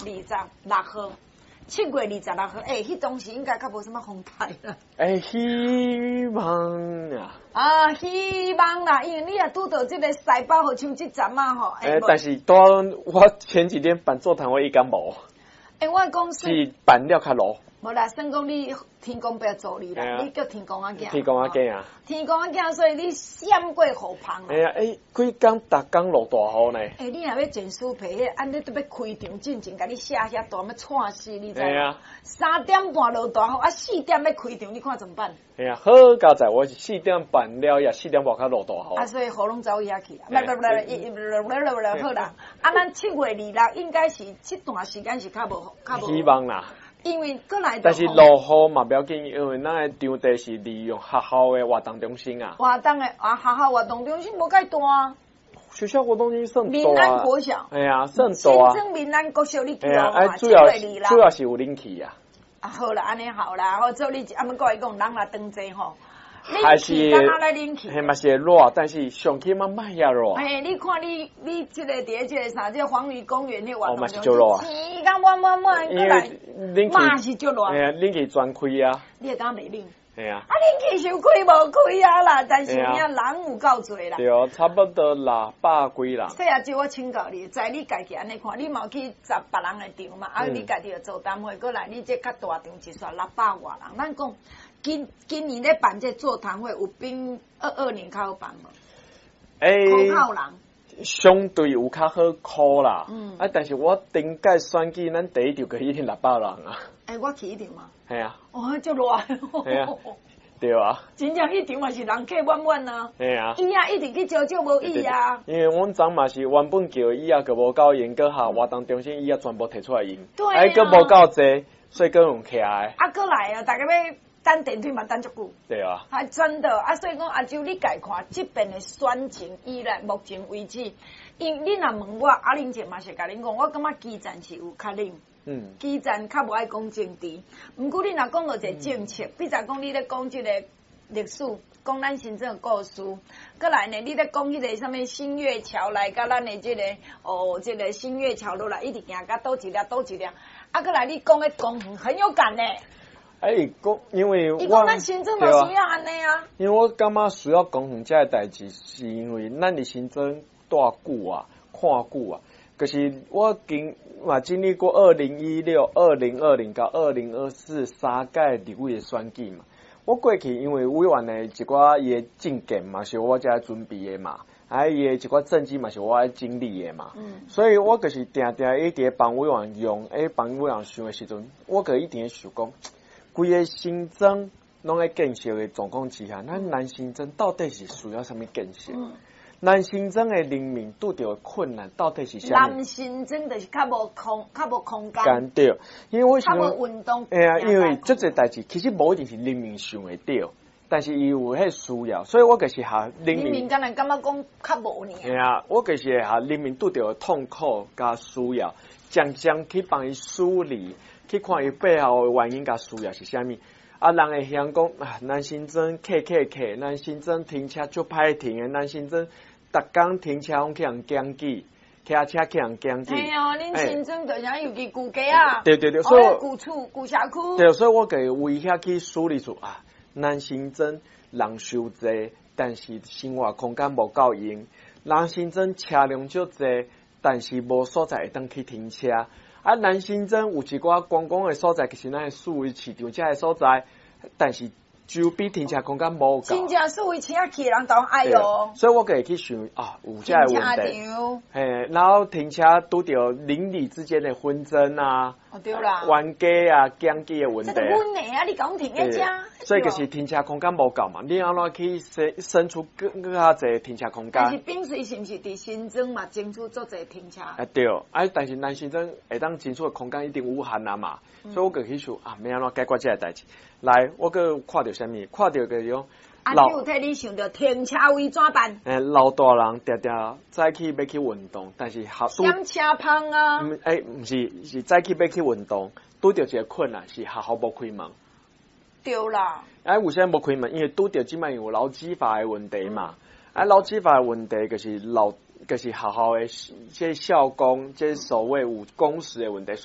二十六號，7月26號，欸，彼當時應該較無啥物風颱啦。欸，希望啊！啊，希望啦，因為你若拄著這个西北雨，像這陣仔吼。欸，但是當我前幾天辦座談會，伊敢無？欸，我講是辦了較落。無啦，算講你天公伯助你啦，你叫天公仔囝。天公仔囝啊！天公仔囝，所以你閃過雨芳。哎呀，欸，幾工逐工落大雨呢？欸，你若欲剪書皮，彼按呢都欲開場進前，共你寫遐大，欲掣死，你知無？3點半落大雨，啊，四點欲開場，你看怎麼辦？哎呀，好佳哉，我是四點半了，也四點外較落大雨。啊，所以雨攏走遐去啦。不不不，不，不，好啦。啊，咱7月26應該是這段時間是較無較無。希望啦。因為閣來，但是落雨嘛不要緊，因為咱的場地是利用學校的活動中心啊。活動的啊，學校活動中心無蓋大啊。學校活動中心算大。民安國小。哎呀，算大啊。新莊民安國小你去啊？主要是有冷氣啊。啊，好啦，按呢好啦，好做你啊，毋過伊講人若當濟吼。還是，彼嘛是會熱，但是上起碼莫遐熱。嘿，你看你這个佇咧這个啥，這個黃魚公園彼活動中心，天公滿滿滿，閣來，嘛是足熱。嘿啊，冷氣全開啊。你會感覺袂冷？嘿啊。啊，冷氣是有開無開啊啦，但是有影人有夠濟啦。對，差不多600幾人。細阿姐，我請教你，在你家己按呢看，你嘛有去十別人的場嘛？啊，你家己又座談會，閣來你這較大場一煞六百外人，咱講。今年咧辦這座談會，有比22年較好辦無？欸，可靠人相對有較好箍啦。啊，但是我頂屆選舉，咱第一場就已經600人啊。欸，我去彼場嘛。係啊。哦，足熱。係啊。對啊。真正彼場嘛是人客滿滿啊。係啊。椅仔一直去招招無椅啊。因為阮昨嘛是原本叫的椅仔，閣無夠用，閣下活動中心椅仔全部提出來用。對啊。哎，閣無夠濟，所以閣用徛的。啊，閣來啊，大家欲等電梯嘛，等足久。對啊。還真的啊，所以講阿周，你家看這邊的選情以來目前為止，因你若問我，阿玲姐嘛是共恁講，我感覺基層是有較冷。基層較無愛講政治，毋過你若講到一個政策，比如講你咧講這個歷史，講咱新莊的故事，閣來呢，你咧講彼個啥物新月橋來佮咱的這個哦，這個新月橋落來，一直行到佗一粒佗一粒，啊，閣來你講的公園很有感呢。欸，講因為我伊講咱新莊嘛需要按呢啊。因為我感覺需要公園這个代誌，是因為咱佇新莊蹛久啊，看久啊，就是我經嘛經歷過2016、2020佮2024三屆立委的選舉嘛。我過去因為委員的一寡伊的政見嘛，是我遮準備的嘛，啊伊的一寡政績嘛是我愛整理的嘛。所以我就是定定一直幫委員用，欸，幫委員想的時陣，我就一直想講，規个新莊攏咧建設的狀況之下，咱南新莊到底是需要啥物建設？南新莊的人民拄著的困難到底是啥物？南新莊就是較無空間。間對，因為我較無運動。會啊，因為足濟代誌其實無一定是人民想會著，但是伊有彼個需要，所以我就是予人民。人民敢若感覺講較無爾。會啊，我就是會予人民拄著的痛苦佮需要，漸漸去幫伊梳理。去看伊背後的原因佮需要是啥物？啊，人會嫌講啊，南新莊客客客，南新莊停車足歹停的，南新莊逐工停車攏去予人檢舉，騎車去予人檢舉。嘿哦，恁新莊就像尤其舊街啊，對對對，所以舊厝舊社區。對，所以我會為遐去梳理出啊，南新莊人傷濟，但是生活空間無夠用；南新莊車輛足濟，但是無所在會當去停車。啊，南新莊有一寡觀光的所在，其實咱的四維市場遮的所在，但是周邊停車空間無夠。真正四維車去的人都愛哦。所以我會去想啊，有這个問題。嘿，然後停車拄著鄰里之間的紛爭啊，哦對啦，冤家啊，檢舉的問題。這個阮的啊，你講停佇遮。所以就是停車空間無夠嘛，你按怎去生出閣較濟停車空間？但是濱水是毋是佇新莊嘛爭取足濟停車？啊對，啊但是南新莊會當爭取的空間一定有限啊嘛，所以我就去想啊，欲按怎解決這个代誌？來，我閣看著啥物？看著就是講，啊，你有替你想著停車位怎辦？欸，老大人定定早起欲去運動，但是學點車芳啊？欸，毋是，是早起欲去運動，拄著一个困難，是學校無開門。對啦。啊，為啥物無開門？因為拄著這擺有勞基法的問題嘛。啊，勞基法的問題就是老，就是學校的這校工，這所謂有工時的問題，所以。